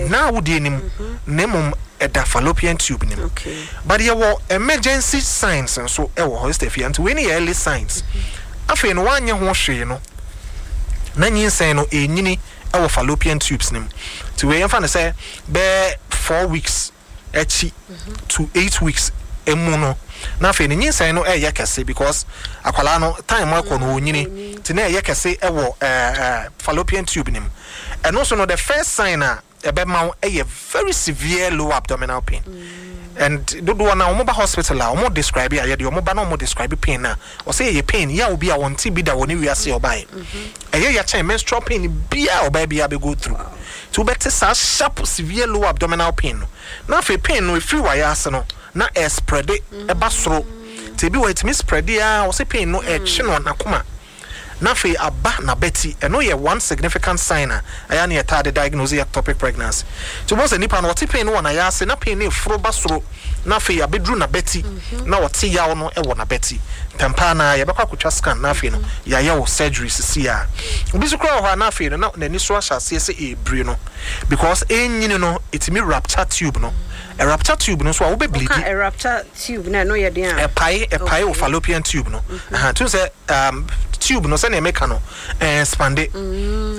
Ɛnna awodeɛ no mu, na mmom ɛda fallopian tube no mu. But yɛwɔ emergency signs nso wɔ hɔ, Sister Afia. Nti wei no yɛ early signs. Afei no woanyɛ ho hwee no, na nyinsɛn no ɛrenyini wɔ fallopian tubes no mu. Nti wei yɛmfa no sɛ bɛyɛ 4 weeks akyi to 8 weeks mu no, na afei no nyinsɛn no ɛyɛ kɛse because akwadaa no time ɛkɔ no ɔnyini, nti na ɛyɛ kɛse ɛwɔ fallopian tube no mu. Ɛno nso no, the first sign a ɛbɛma wo ɛyɛ very severe lower abdominal pain. And dodoɔ na wɔn ba hospital a wɔn describe a, yɛde wɔn ba na wɔn describe pain na ɔsɛ yɛyɛ pain yɛ a obi a wɔn ti bi da wɔ ne wiase a ɔbaeɛ, ɛyɛ yɛkyɛn menstrual pain biara a ɔbaa biara bɛ go through. Nti wobɛte saa sharp severe lower abdominal pain no, na afei pain no efiri wayɛ ase no na ɛspread ɛba soro. Nti ebi wɔ etumi spread a, wɔsɛ pain no ɛkye no n'akoma na afei aba n'abati. Ɛno yɛ one significant sign a ɛyɛ ne yɛtaa de diagnose ectopic pregnancy. Nti wɔn sɛ nipa no ɔte pain no wɔ n'ayɛ ase na pain no eforo ba soro na afei abɛduru n'abati na ɔte yaw no wɔ n'abati ntɛmpaa na yɛbɛkɔ akotwa scan na afei no yɛayɛ wɔ surgery sisi a. Obi nso koraa wɔ hɔ a, na afei no na n'ani so ahyɛ aseɛ sɛ ebire no because ɛnyini no, ɛtumi rupture tube no. Rupture tube no nso a, wobɛ bleed. Ɔka rupture tube na ɛno yɛ den a? Ɛpae wɔ fallopian tube no. Tun sɛ tube no, sɛnea meka no, ɛexpand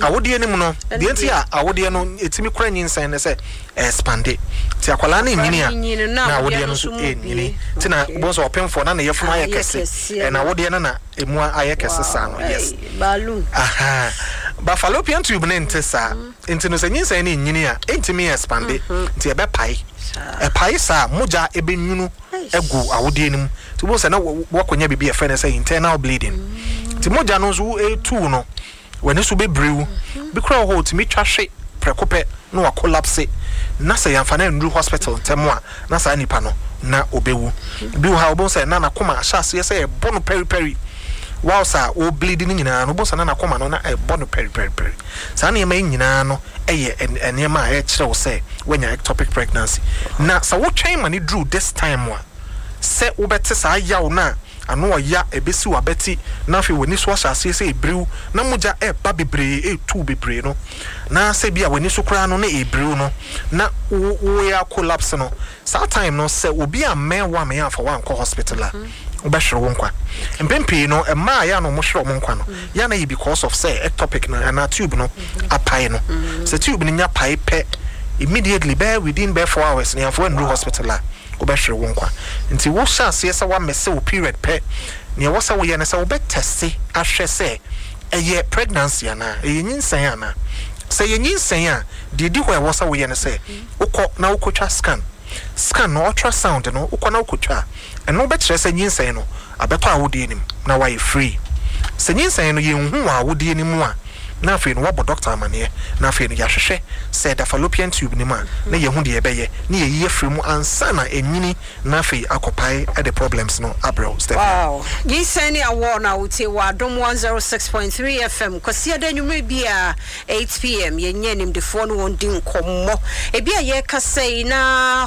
awodeɛ no mu no. Deɛ nti a awodeɛ no ɛtumi kora nyinsɛn ne sɛ ɛexpand, nti akwadaa no nyini a, na awodeɛ no nso ɛnyini. Nti na wobɛhu sɛ ɔpemfoɔ na ne yɛfunu ayɛ kɛse, ɛna awodeɛ no na ɛmu ayɛ kɛse saa no, yes. Aha. Ba fallopian tube ne nte saa. Nti no sɛ nyinsɛn no nyini a, ɛntumi expand, nti ɛbɛpae. Ɛpae saa, mogya ɛbɛnwunu agu awodeɛ no mu. Nti wobɛhu sɛ na wakɔnya biribi a yɛfrɛ no sɛ internal bleeding. Nti mogya no nso ɛtu no, w'ani so bɛbiriw. Bi koraa wɔ hɔ, ɔtumi twa hwe prɛko pɛ na wacollapse, na sɛ yɛamfa no annuru hospital ntɛm a, na saa nipa no na ɔbɛwu. Bi wɔ ha, wobɛhu sɛ na n'akoma ahyɛ aseɛ sɛ ɛbɔ no pɛripɛri whilst a ɔbleed no nyinaa no, wobɛhu sɛ na n'akoma no na ɛbɔ no pɛripɛripɛri. Saa nneɛma yi nyinaa no yɛ nneɛma a ɛkyerɛ wo sɛ woanya ectopic pregnancy. Na sɛ wotwɛn ma no duru this time a, sɛ wobɛte saa yaw no a ano ɔya ɛbɛsi w'abati na afei w'ani so ahyɛ aseɛ sɛ ɛbiriw na mogya ɛreba bebree, ɛretu bebree no, na sɛ bi a w'ani so koraa no na ɛrebiriw no na woyɛ collapse no, saa time no sɛ obi ammɛn wo ammɛn amfa wo ankɔ hospital a, wobɛhwere wo nkwa. Mpɛn pii no, mmaa a yɛ a na wɔhwere wɔn nkwa no, yɛ a na yɛ because of sɛ ectopic no anaa tube no apae no. Sɛ tube no nya pae pɛ, immediately bɛyɛ within bɛyɛ 4 hours no, yɛamfa wo annuru hospital a, wobɛhwere wo nkwa. Nti wohyɛ aseɛ sɛ woamese wo period pɛ, nea ɛwɔ sɛ woyɛ ne sɛ wobɛtest ahwɛ sɛ ɛyɛ pregnancy anaa, ɛyɛ nyinsɛn anaa. Sɛ ɛyɛ nyinsɛn a, deɛ ɛdi hɔ a ɛwɔ sɛ woyɛ ne sɛ wokɔ na wokɔtwa scan. Scan no, ultrasound no, wokɔ na wokɔtwa a, ɛno bɛkyerɛ sɛ nyinsɛn no abɛtɔ awodeɛ no mu na wayɛ free. Sɛ nyinsɛn no yɛnhu wɔ awodeɛ no mu a, na afei no wɔabɔ dɔkta amaneɛ, na afei no yɛahwehwɛ sɛ ɛda fallopian tube no mu a, na yɛahu deɛ yɛbɛyɛ na yɛayi afiri mu ansa na anyini na afei akɔpae de problems no abrɛ wo. Stephanie. Wow! Nyinsɛn ne awɔ na wotie wɔ Adom 106.3 FM Kwasiada anwummere biara 8 p.m. Yɛnyɛ animdefoɔ ne wɔn di nkɔmmɔ. Ebi a yɛrekasa yi na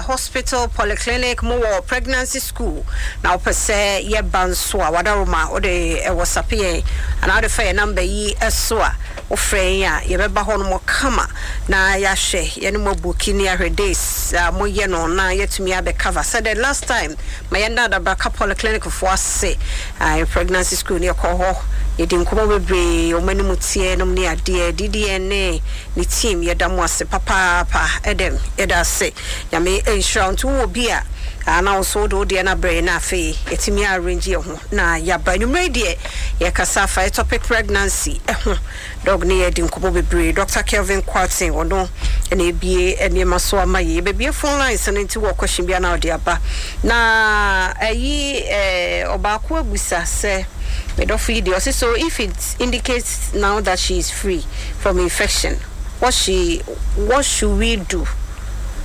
hospital, polyclinic mowɔ pregnancy school na wopɛ sɛ yɛba nso a, wadaroma wode WhatsApp yɛn anaa wode fa yɛn number yi so a, wofrɛ yɛn a, yɛbɛba hɔ nom kama na yɛahwɛ yɛne mo abook ne yɛahwɛ days a moyɛ no na yɛatumi abɛcover. Sɛ the last time ma yɛn Adabraka Polyclinic foɔ ase pregnancy school ne yɛkɔ hɔ, yɛdi nkɔmmɔ bebree, wɔn anim teɛ nom ne adeɛ. DDN ne ne team, yɛda mo ase papaapa. Ɛdɛm yɛda ase, Nyame nhyira wo. Nti wowɔ bi a na wo nso wode wo deɛ no abrɛ yɛn na afei yɛtumi arrange yɛn ho na yɛaba. Anwummerɛ yi deɛ, yɛkasa afa ectopic pregnancy ho. Doc ne yɛadi nkɔmmɔ bebree. Dr. Kelvin Kwarteng, ɔno na ebie nneɛma so ama yɛ. Yɛbɛbie phone lines no, nti wɔ question bi na ɔde aba. Na ayi ɔbaako abusa sɛ, medɔfo yi deɛ, ɔse, "So if it indicates now that she is free from infection, what should we do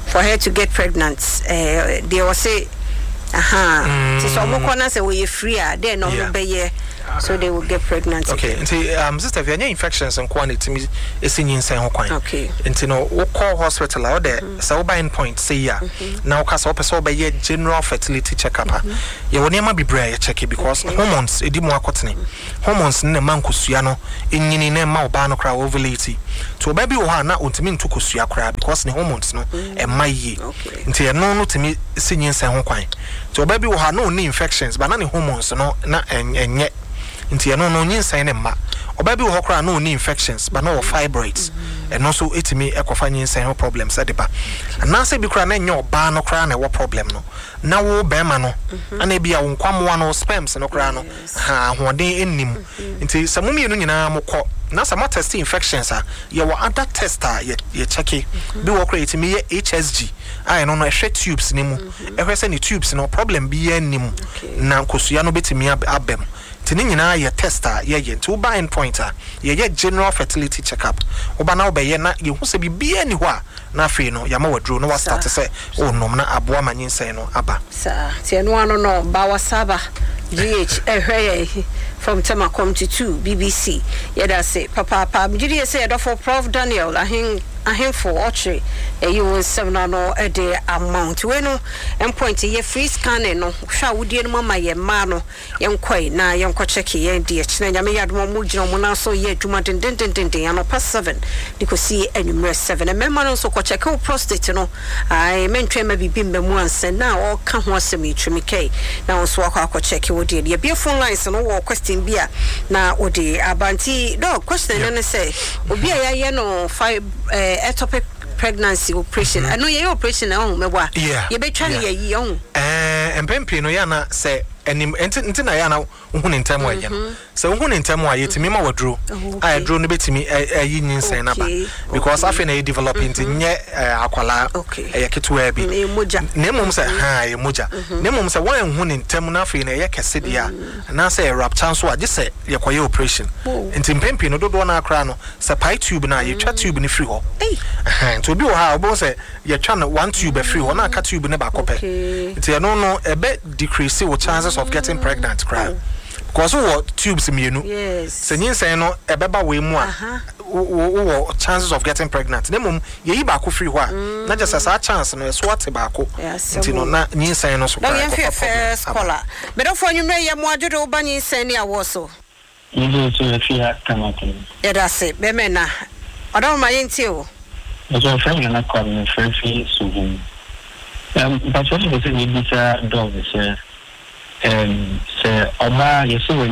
for her to get pregnant?" Deɛ ɔse aha, nti sɛ ɔmo kɔ na sɛ wɔyɛ free a, dɛn na ɔmo bɛyɛ? So they will get pregnant. Okay, nti Sister Fia, ɛnyɛ infections nko a na ɛtumi ɛsi nyinsɛn ho kwan. Nti no wokɔ hospital a, wode sɛ woba End Point sɛ yi a, na woka sɛ wopɛ sɛ wobɛyɛ general fertility check up a, yɛwɔ nneɛma bebree a yɛkyɛke because hormones ɛdi mu akɔtene. Hormones no na ɛma nkosua no nyini na ɛma ɔbaa no koraa ovulate. Nti ɔbaa bi wɔ hɔ a na ɔntumi nto kosua koraa because ne hormones no ɛmma yie. Nti ɛno no tumi si nyinsɛn ho kwan. Nti ɔbaa bi wɔ hɔ a na ɔnni infections but na ne hormones no na ɛnyɛ nti ɛno no nyinsɛn no mma. Ɔbaa bi wɔ hɔ koraa a na ɔnni infections but na ɔwɔ fibroids, ɛno nso tumi kɔfa nyinsɛn ho problems de ba. Anaasɛ bi koraa na ɛnyɛ ɔbaa no koraa na ɛwɔ problem no, na wo barima no, ɛna ebia wo nkwammoa no, wo sperms no koraa no, ha ahoɔden nni mu. Nti sɛ mo mmienu nyinaa mokɔ na sɛ moatɛste infections a, yɛwɔ other test a yɛ yɛkyɛke. Bi wɔ hɔ koraa yɛtumi yɛ HSG a ɛno no ɛhwɛ tubes no mu, ɛhwɛ sɛ ne tubes no problem biara nni mu na nkosua no bɛtumi aba mu. Nti ne nyinaa yɛ test a yɛyɛ. Nti woba end point a, yɛyɛ general fertility check up. Woba na wobɛyɛ na yɛhu sɛ biribiara nni hɔ a, na afei no yɛama wo aduro na woastarte sɛ worenom na aboa ma nyinsɛn no aba. Saa, nti ɛno ano no Bawasaba GH ɛhwɛ yɛn from Tema Comte 2 BBC. Yɛda ase papaapa. Megye die sɛ yɛdɔfo Prof Daniel Ahen Ahenfo Ɔkyere ayi wo nsɛm no ano de ama wo. Nti wei no mpoint yɛ free scanning no hwɛ a wodie no mu ama yɛn mmaa no. Yɛnkɔe na yɛnkɔ kyɛke yɛn deɛ kyena Nyame yɛ adom a ɔmo gyina ɔmo nan so yɛ adwuma dendendendenden anɔpa seven de kɔsi anwummerɛ seven. Mmarima no nso kɔ kyɛke wo prostate no ae mentwɛn mma biribi mma mu ansa na ɔɔka ho asɛm yi tiri me kɛe na wo nso wakɔ akɔ kyɛke wo deɛ no. Yɛbue phone lines no wowɔ question bi a na wode aba nti doc question no ne sɛ obi a yɛayɛ no fib eh, ectopic pregnancy operation ɛno yɛyɛ operation na ɔho mɛbɔ a yɛbɛtwa no yɛyi ɔho. Ɛɛ mpɛn pii no yɛ ana sɛ anim nti nti na yɛ ana wohu ne ntɛm a ɛyɛ no sɛ wohu ne ntɛm a yɛtumi ma waduro a aduro no bɛtumi ayi nyinsɛn no aba because afei na ɛyɛ develop nti nyɛ akwalaa ɛyɛ ketewaa bi na mmom sɛ ha ɛyɛ mogya na mmom sɛ woanhu ne ntɛm na afei na ɛyɛ kɛse deɛ a Anaasɛ ɛyɛ rupture nso a, gye sɛ yɛkɔyɛ operation. Nti mpɛn pii no, dodoɔ no ara koraa no, sɛ pae tube no a, yɛtwa tube no firi hɔ. Ɛhɛn, nti obi wɔ hɔ a, wobɛhu sɛ yɛtwa no one tube afiri hɔ na aka tube no baako pɛ. Nti ɛno no, ɛbɛ decrease wo chances of getting pregnant koraa. Because wowɔ tubes mmienu. Sɛ nyinsɛn no ɛbɛba wei mu a, wowɔ chances of getting pregnant. Na mmom, yɛyi baako firi hɔ a, na kyerɛ sɛ saa chance no, ɛso ate baako. Nti no, na nyinsɛn no so koraa ɛkɔfa problem aba. Medɔfo anwummerɛ yi yɛ mo adwo de wo ba nyinsɛn ne awoɔ so. Yɛgye so afi ha Tamaklo. Yɛda ase bɛmɛ na ɔdɔ ma yɛntie o. Mpakyɛw yɛfrɛ me Nana Kwame mefrɛ fi Suhum. Ɛm mpakyɛw mepɛ sɛ mebisa dɔg sɛ ɛm sɛ ɔbaa yɛsɛ w'ani.